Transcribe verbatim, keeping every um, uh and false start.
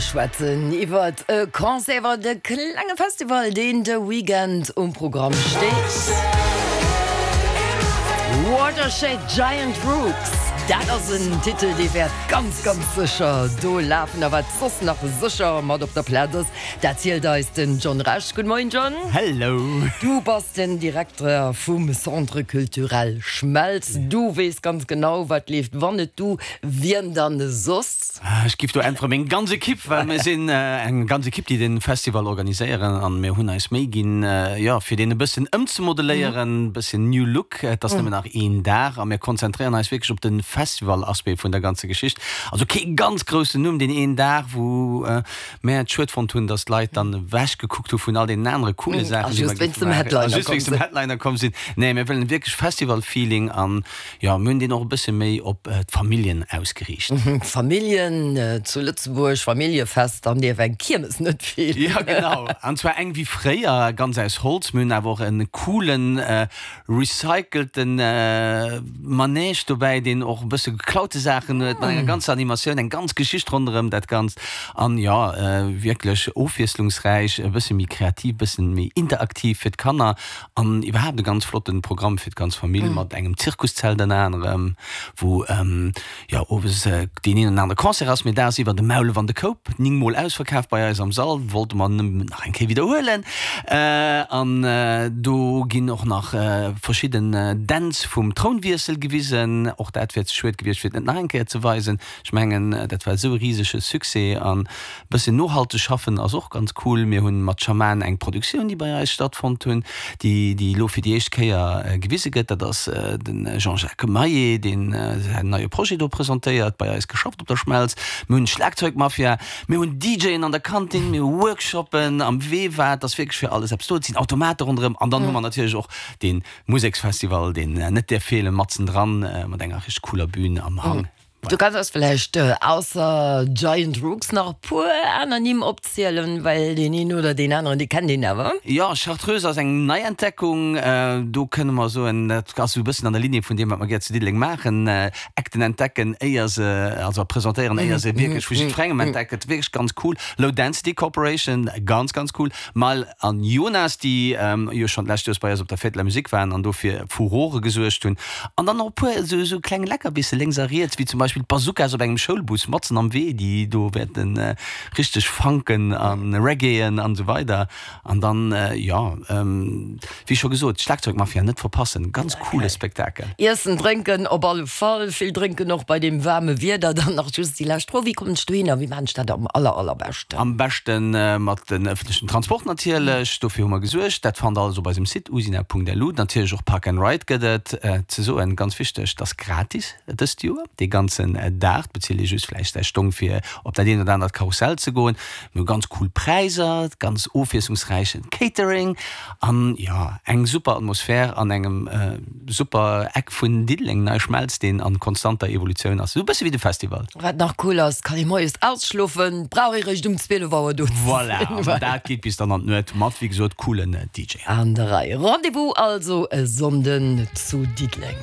Mir schwätzen iwwert e Concert, iwwert e klenge Festival, deen de Weekend um Programm steet. Watershed Giant Rooks, dat ass en Titel, dee wäert ganz, ganz sécher do lafen. A wat soss nach sécher mat op der Plaz ass, dat zielt eis den John Rech. Gudde Moien, John. Hello. Du bass den Direkter vum Centre Culturel Schmelz. Du weess ganz genau, wat leeft. Wann net du, wien dann soss? Ech giff do äntweren, meng ganz Ekipp, well mir sinn eng ganz Ekipp, déi de Festival organiséieren an mir hunn eis Méi ginn, jo, fir deen e bëssen ëmzemodeléieren, e bëssen new look. Et ass nëmmen nach een Dag a mir konzentréieren eis wierklech op de Festival-Aspect vun der ganzer Geschicht. Also kee ganz groussen Numm deen een Dag, wou mär et schued fonnt hunn, dass d'Leit dann ewech gekuckt hu vun all deenen anere coole Saachen, déi mer giffe maachen, a just wéinst dem Headliner komm sinn. Nee, mir wëllen wierklech Festival-Feeling an, jo, mir hunn deen och e bësse méi op d'Familljen ausgeriicht. Familljen zu Lëtzebuerg, Familljefest, dann dierf eng Kiermes net feelen. Jo, genau. An zwar eng wéi fréier, ganz aus Holz. Mir hunn awer och e coolen recycelten Manège dobäi, deen och e bësse geklaute Saachen huet, mat enger ganzer Animatioun, eng ganz Geschicht ronderëm dat Ganzt. An jo, wierklech ofwiesslungsräich, e bësse méi kreativ, e bësse méi interaktiv fir d'Kanner an iwwerhaapt e ganz flotten Programm fir d'ganz Famill mat engem Zirkuszelt ënner anerem, wou jo owes deen een oder anere Concert ass, mee dagsiwwer de Maulef an de Koup, ning mol ausverkaf bei eis am Sall, wollte mer nëmmen nach eng Kéier widderhuelen. An do ginn och nach verschidden Dänz vum Trounwiessel gewisen. Och dat wär ze schued gewiescht, fir et net nach eng Kéier ze weisen. Ech mengen, dat war esou e risege Succès. An e bëssen nohalteg schaffen ass och ganz cool. Mir hunn mat Schaman eng Produktioun, déi bei eis stattfonnt hunn, déi déi elo fir déi éischt Kéier gewise gëtt. Dat ass de Jean-Jacques Maillet, deen säin neie Projet do presentéiert, bei eis geschafft op der Schmelz. Mir hunn d'Schlagzeugmafia, mir hunn DJen an der Kantin, mir hu Workshoppen am Veva. Et ass wierklech fir alles eppes do. Et sinn Automate ronderëm. An dann hu mer natierlech och dee Museksfestival, deen net däerf feelen, matzendran mat enger richteg cooler Bühn am Hang. Du kanns eis vläicht ausser Giant Rooks nach e puer aner Nimm opzielen, well deen een oder deen aneren, dee kennt een awer. Jo, Chartreuse ass eng Neientdeckung. Do kënne mer soen, dat ass esou e bëssen an der Ligne vun deem, wat mer gär zu Diddeleng maachen, Acten entdecken, éier se, also presentéieren, éier se wierklech vu jiddwerengem entdeckt gëtt. Wierklech ganz cool. Low Density Corporation, ganz, ganz cool. Mal an Jonas, déi jo schonn d'lescht Joers bei eis op der Fête de la Musique waren an do fir Furore gesuergt hunn. An dann och e puer esou esou kleng Leckerbisse lénks a riets, wéi zum Beispill d'Bazookas op engem Schoulbus matzen am Wee, déi do wäerte richteg funken a reggaeen an esou weider. An dann, jo, wéi scho gesot, d'Schlagzeugmafia net verpassen, ganz coole Spektakel. Iessen, drénken op alle Fall, vill drénken och bei deem waarme Wieder. Dann nach just déi lescht Fro, Wéi kommen ech dohinner? Wéi maachen ech dat am aller, allerbeschten? Am beschte mat den ëffentlechen Transport natierlech, dofir hu mer gesuergt. Dat fannt der alles op eisem Site usina.lu. Natierlech och Park and Ride gëtt et. Ze soen, ganz wichteg, et ass gratis dëst Joer, dee ganzen Dag. Et bezilt ee just vläicht säi Stong fir op dat eent oder anert Karussell ze goen. Mir hu ganz cool Präiser, ganz ofwiesslungsräichen Catering an jo, eng super Atmosphär an engem super Eck vun Diddeleng, NeiSchmelz, deen an konstanter Evolutioun ass, esou e bësse wéi de Festival. Wat nach cool ass, kann ee moies ausschlofen, brauch ee réischt um zwielef Auer do ze sinn. Voilà, an dat geet bis dann an d'Nuet mat, wéi gesot, coolen D J. An der Rei. Rendez-vous also e Sonnden zu Diddeleng.